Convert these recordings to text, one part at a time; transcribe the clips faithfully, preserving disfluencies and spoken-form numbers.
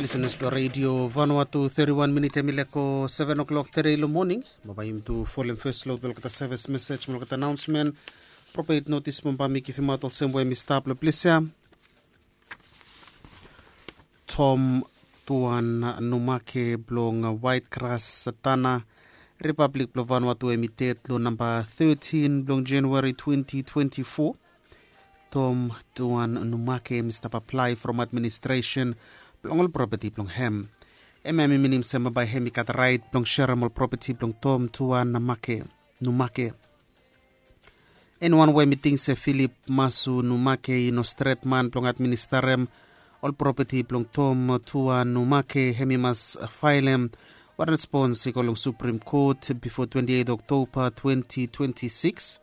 Lisenas blong redio Vanuatu, thirty-one minit hemi leko seven o'clock today long moning. Bambae yumi tu folem fes long olgeta sevis mesej mo olgeta anaonsmen. Propet notis bambae mi givimaot olsem we mi stap long ples ya. Tom Tuan Numake blong Waitgras, Tana, Ripablik blong Vanuatu, hemi ded long namba thirteen blong Januari twenty twenty-four. Tom Tuan Numake hemi stap aplae from administresen blong ol propeti blong hem. Hemia hemi minim se bambae hemi gat raet blong serem ol propeti blong Tom Tuan Numake. Eniwan we hemi ting se Filip Masu Numake i no stret man blong administarem ol propeti blong Tom Tuan Numake, hemi mas faelem wan respons i go long Supreme Court bifo twenty-eight Oktoba twenty twenty-six.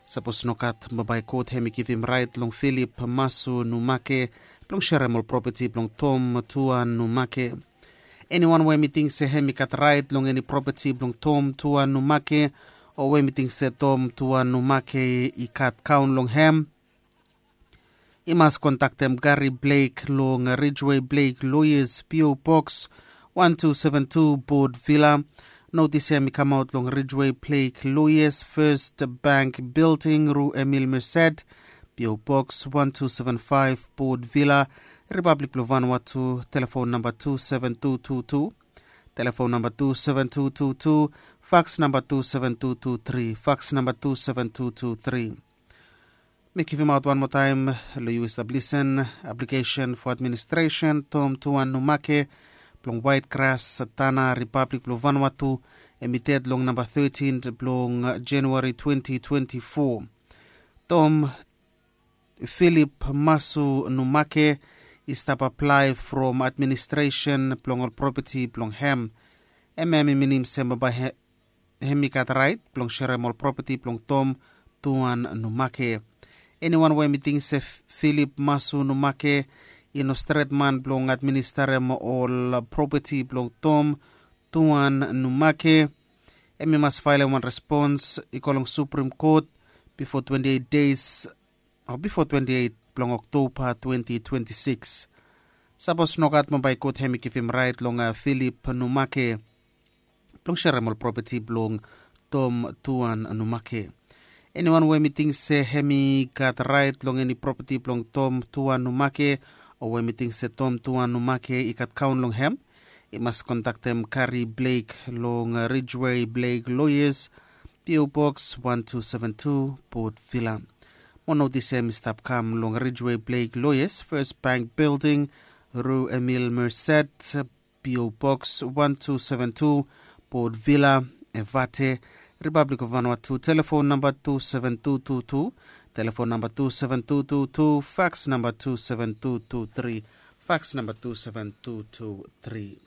Sapos nogat, bambae kot hemi givim raet long Filip Masu Numake blong serem ol propeti blong Tom Tuan Numake. Eniwan we hemi ting se hemi gat raet long eni propeti blong Tom Tuan Numake, o we hemi ting se Tom Tuan Numake i gat kaon long hem, i mas kontaktem Gary Blake long Ridgeway Blake Lawyers, P O Box one two seven two, Port Vila. Notis ya hemi kamaot long Ridgeway Blake Lawyers, First Bank Building, Rue Emile Merced, P O Box one two seven five, Port Vila, Ripablik blong Vanuatu. Telefon namba two seven two two two, telefon namba two seven two two two, faks namba two seven two two tri, faks namba two seven two two tri. Mi givimaot wan moa taem long yu i stap lisen. Aplikesen fo administresen Tom Tuan Numake blong Waitgras, Tana, Ripablik blong Vanuatu, hemi ded long namba thirteen blong Januari twenty twenty-four. Tom Filip Masu Numake i stap aplae from administresen blong ol propeti blong hem. Hemia hemi minim se bambae hemi gat raet blong serem ol propeti blong Tom Tuan Numake. Eniwan we hemi ting se Filip Masu Numake i no stret man blong administarem ol propeti blong Tom Tuan Numake, hemi mas faelem wan respons i go long Supreme Court bifo twenty-eight days o bifo twenty-eight blong Oktoba twenty twenty-six. Sapos nogat, bambae kot hemi givim raet long Filip Numake blong serem ol propeti blong Tom Tuan Numake. Eniwan we hemi ting se hemi gat raet long eni propeti blong Tom Tuan Numake, o we hemi ting se Tom Tuan Numake i gat kaon long hem, i mas kontaktem Gary Blake long Ridgeway Blake Lawyers, P O Box one two seven two, Port Vila. Mo notis ya hemi stap kam long Ridgeway Blake Lawyers, First Bank Building, Rue Emile Merced, P O Box one two seven two, Port Vila, Evate, Ripablik of Vanuatu. Telefon namba two seven two two two, telefon namba two seven two two two, faks namba two seven two two tri, faks namba two seven two two tri.